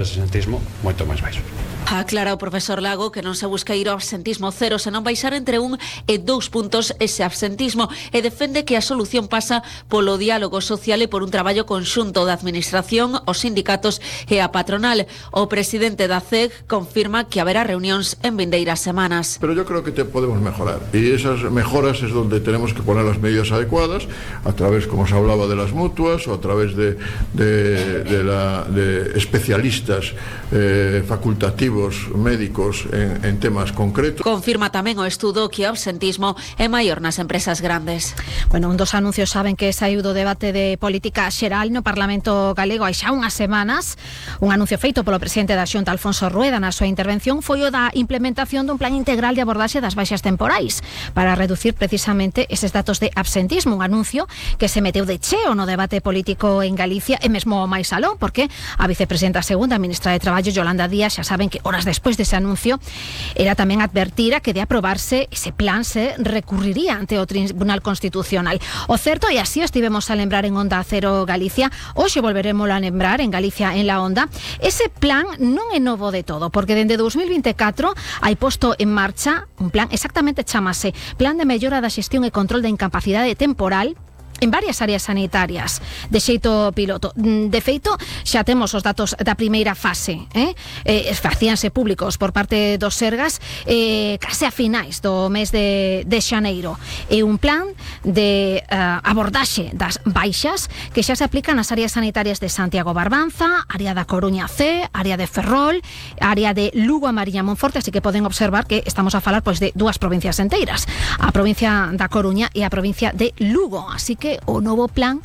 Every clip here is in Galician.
Absentismo moito máis baixo. Aclara o profesor Lago que non se busca ir ao absentismo cero, senón baixar entre 1 e 2 puntos ese absentismo, e defende que a solución pasa polo diálogo social e por un traballo conxunto da administración, os sindicatos e a patronal. O presidente da CEG confirma que haberá reunións en vindeiras semanas. Pero yo creo que podemos mejorar, y esas mejoras es donde tenemos que poner las medidas adecuadas, a través, como se hablaba, de las mutuas, o a través de especialistas facultativos médicos en temas concretos. Confirma tamén o estudo que o absentismo é maior nas empresas grandes. Bueno, un dos anuncios saben que saiu do debate de política xeral no Parlamento galego hai xa unhas semanas. Un anuncio feito polo presidente da Xunta, Alfonso Rueda, na súa intervención foi o da implementación dun plan integral de abordaxe das baixas temporais para reducir precisamente eses datos de absentismo, un anuncio que se meteu de cheo no debate político en Galicia e mesmo máis aló, porque a vicepresidenta segunda, a ministra de Traballo, Yolanda Díaz, xa saben que horas despois dese anuncio era tamén advertir a que de aprobarse ese plan se recurriría ante o Tribunal Constitucional. O certo, e así estivemos a lembrar en Onda Cero Galicia, hoxe volveremos a lembrar en Galicia en la Onda, ese plan non é novo de todo, porque dende 2024 hai posto en marcha un plan, exactamente chamase Plan de Mellora da Xestión e Control da Incapacidade Temporal en varias áreas sanitarias, de xeito piloto. De feito, xa temos os datos da primeira fase, facíanse públicos por parte dos Sergas case a finais do mes de xaneiro. É un plan de abordaxe das baixas que xa se aplican nas áreas sanitarias de Santiago Barbanza, área da Coruña C, área de Ferrol, área de Lugo a Mariña Monforte, así que poden observar que estamos a falar pois de dúas provincias enteiras, a provincia da Coruña e a provincia de Lugo, así que o novo plan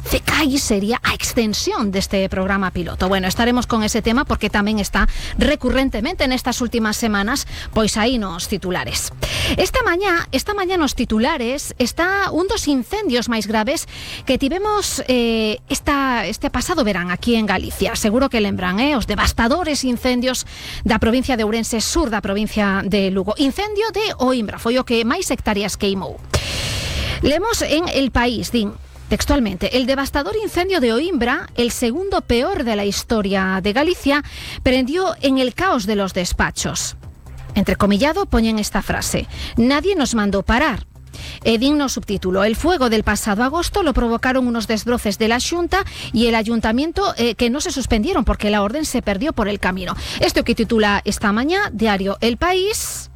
CECAI sería a extensión deste programa piloto. Bueno, estaremos con ese tema porque tamén está recurrentemente nestas últimas semanas pois aí nos titulares. Esta mañá nos titulares está un dos incendios máis graves que tivemos este pasado verán aquí en Galicia. Seguro que lembran os devastadores incendios da provincia de Ourense, sur da provincia de Lugo. Incendio de Oimbra, foi o que máis hectáreas queimou. Leemos en El País, din textualmente: el devastador incendio de Oimbra, el segundo peor de la historia de Galicia, prendió en el caos de los despachos. Entrecomillado poñen esta frase: nadie nos mandó parar. Digno subtítulo: el fuego del pasado agosto lo provocaron unos desbroces de la Xunta y el Ayuntamiento que no se suspendieron porque la orden se perdió por el camino. Esto que titula esta mañá diario El País.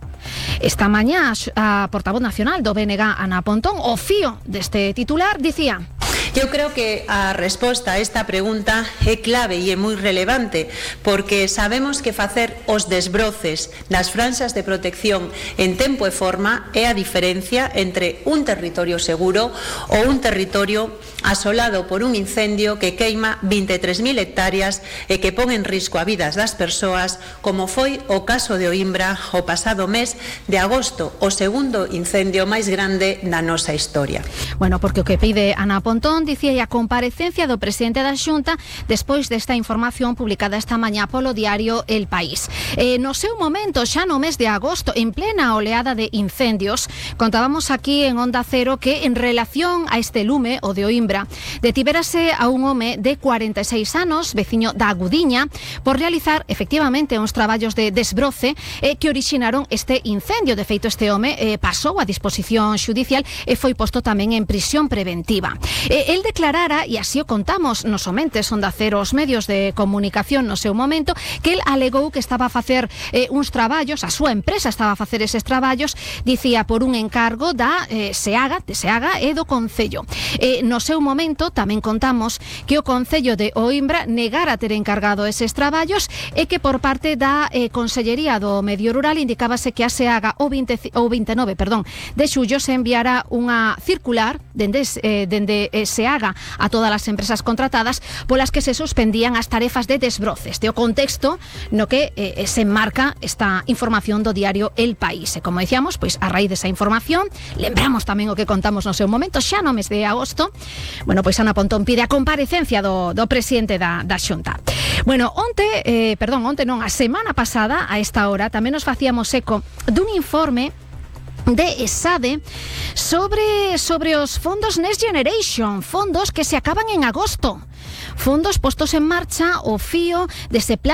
Esta mañá a portavoz nacional do BNG, Ana Pontón, o fío deste titular, dicía: eu creo que a resposta a esta pregunta é clave e é moi relevante, porque sabemos que facer os desbroces das franxas de protección en tempo e forma é a diferencia entre un territorio seguro ou un territorio asolado por un incendio que queima 23.000 hectáreas e que pon en risco a vidas das persoas, como foi o caso de Oimbra o pasado mes de agosto, o segundo incendio máis grande da nosa historia. Bueno, porque o que pide Ana Pontón, dicía, a comparecencia do presidente da Xunta despois desta información publicada esta mañá polo diario El País. No seu momento, xa no mes de agosto, en plena oleada de incendios, contábamos aquí en Onda Cero que en relación a este lume, o de Oimbra, detibérase a un home de 46 anos, veciño da Agudiña, por realizar efectivamente uns traballos de desbroce que orixinaron este incendio. De feito, este home pasou a disposición xudicial e foi posto tamén en prisión preventiva. El declarara, e así o contamos nos omentes Onda Cero os medios de comunicación no seu momento, que el alegou que estaba a facer uns traballos, a súa empresa estaba a facer eses traballos, dicía, por un encargo da SEAGA e do Concello. No seu momento tamén contamos que o Concello de Oimbra negara ter encargado eses traballos e que por parte da Consellería do Medio Rural indicábase que a SEAGA o 29 de xullo se enviara unha circular dende SEAGA a todas as empresas contratadas polas que se suspendían as tarefas de desbroce. Este o contexto no que se enmarca esta información do diario El País. E como decíamos, pois a raíz desa información, lembramos tamén o que contamos no seu momento, xa no mes de agosto, bueno, pois Ana Pontón pide a comparecencia do presidente da Xunta. Bueno, a semana pasada, a esta hora, tamén nos facíamos eco dun informe de ESADE sobre os fondos Next Generation, fondos que se acaban en agosto, fondos postos en marcha o fío dese plan